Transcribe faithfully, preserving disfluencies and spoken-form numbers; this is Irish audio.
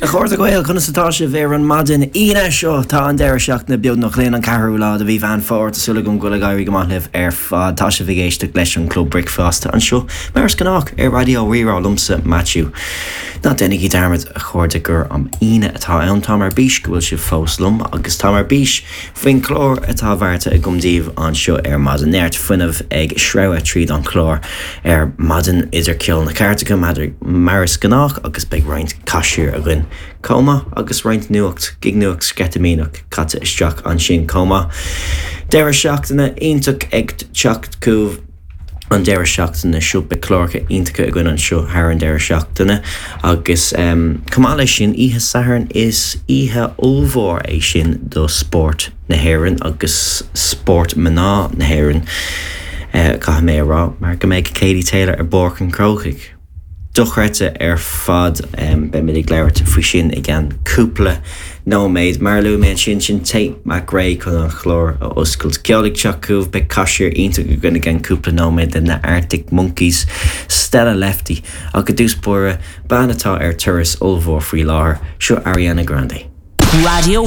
A chairde Gael conas atá sibh ar an maidin Aoine seo tá an deireadh seachtaine beagnach linn an ceathrú lá de mhí Mheán Fómhair tá súil agam go bhfuil ag éirí go maith libh ar fad tá sibh ag éisteacht leis an Club Bricfeasta anseo mar is gnách ar Raidió Rí-Rá liomsa Matthew. Ná déanaigí dearmad a chairde gur an Aoine atá ann tá ar bís go bhfuil sibh fós liom agus tá ar bís faoin chlár atá beartaithe agam daoibh anseo ar maidin neart fuinnimh ag sreabhadh tríd an chlár ar maidin idir ceol na cairteacha mar is gnách agus beidh roinnt caisir againn chomh maith agus roinnt nuacht gig nuacht sceitimíneach caite isteach ansin chomh maith. Deireadh seachtaine iontach ag teacht chugaibh an deireadh seachtaine seo beidh cláracha iontacha againn anseo thar an deireadh seachtaine agus um, chomh maith leis sin oíche Sathairn is oíche ollmhór é sin do spórt na hÉireann agus spórt mná na hÉireann uh, caithfidh mé a rá mar go mbeidh Katie Taylor ar Pháirc an Chrócaigh. Dochreidte ar fad um, beimid ag labhairt faoi sin i gceann cúpla nóiméad mar luaigh mé sin sin Tate McRae chun an chlár a oscailt. Ceol ag teacht chugaibh beidh caisir iontach againn i gceann cúpla nóiméad de na Arctic Monkeys, Stella Lefty ach i dtús báire bean atá ar turas ollmhór faoi láthair seo Ariana Grande. Radio